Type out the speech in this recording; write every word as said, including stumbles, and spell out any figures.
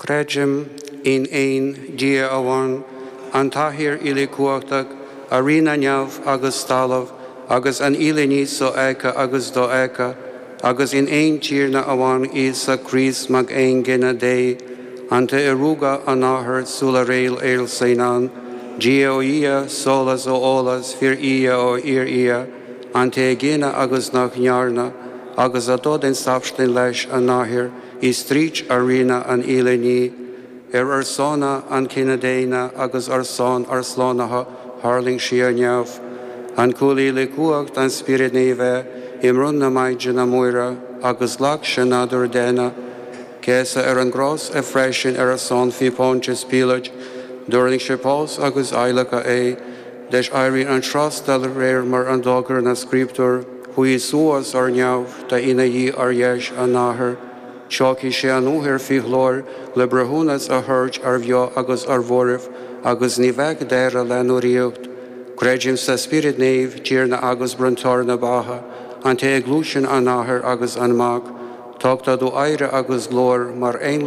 Creidim in aon Dia amháin an tAthair uilechumhachtach a rinne neamh agus talamh agus an uile ní sofheicthe agus dofheicthe, agus in aon Tiarna amháin Íosa Críost Mac aongine Dé, an té a rugadh ón Athair sula raibh aon saol ann, Dia ó Dhia, solas ó sholas, fíor-Dhia ó fhíor-Dhia, an té a gineadh agus nach ndearnadh, agus atá den tsubstaint leis an Athair, is tríd a rinneadh an uile ní, ar ar son an chine daonna agus ar son ár slánaithe tharraing sé ó neamh. An chuaigh le cumhacht an Spioraid Naofa i mbroinn na Maighdine Muire agus ghlac sé nádúr daonna, Céasadh ar an gcros é freisin ar a son faoi Phontius Píoláit, d'fhulaing sé bás agus adhlacadh é, leis éirí an tros de réir mar a d'fhógair na Scrioptúir, chuaigh suas ar neamh tá ina shuí ar dheis an Athar, Tiocfaidh sé athuair faoi ghlóir le breithiúnas a thabhairt ar bheo agus ar mhairbh, agus ní bheidh deireadh lena ríocht. Creidim sa Spiorad Naomh, Tiarna agus bronntóir na beatha, an té a ghluaiseann an Athair agus an Mac, Tugtar dó adhradh agus glóir mar aon